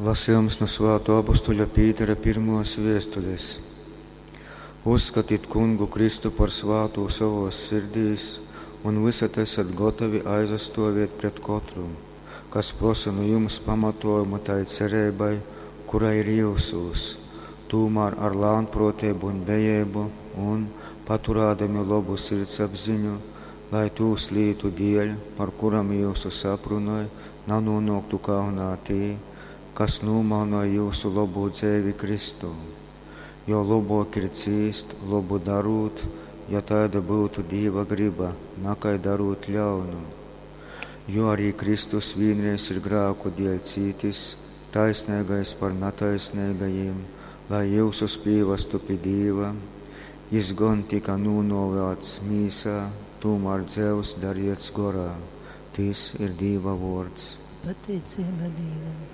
Lasījums nu Svātō apostuļa Pītera pirmōs vēstules. Uzskatit Kungu Kristu par svātu sovōs sirdīs un vysod esat gotovi aizastōvēt pret kotru, kas prosa nu jums pamatōjumu tai cereibai, kura ir jyusūs, tūmār ar lānprōteibu un bejeibu un, paturādami lobu sirdsapziņu, lai tūs lītu dēļ, par kurom jyusus aprunoj, nanūnōktu kaunā tī, kas nūmalnoj jyusu lobū dzeivi Kristū. Jo lobōk ir cīst, lobu darūt, ja taida byutu Dīva gryba, nakai darūt ļaunu. Jo arī Kristus vīnreiz ir grāku dēļ cītis, taisneigais par nataisneigajim, lai jyusus pīvastu pi Dīva. Jys gon tyka nūnōvāts mīsā, tūmār dzeivs dariets gorā. Tys ir Dīva vōrds. Pateiceiba Dīvam.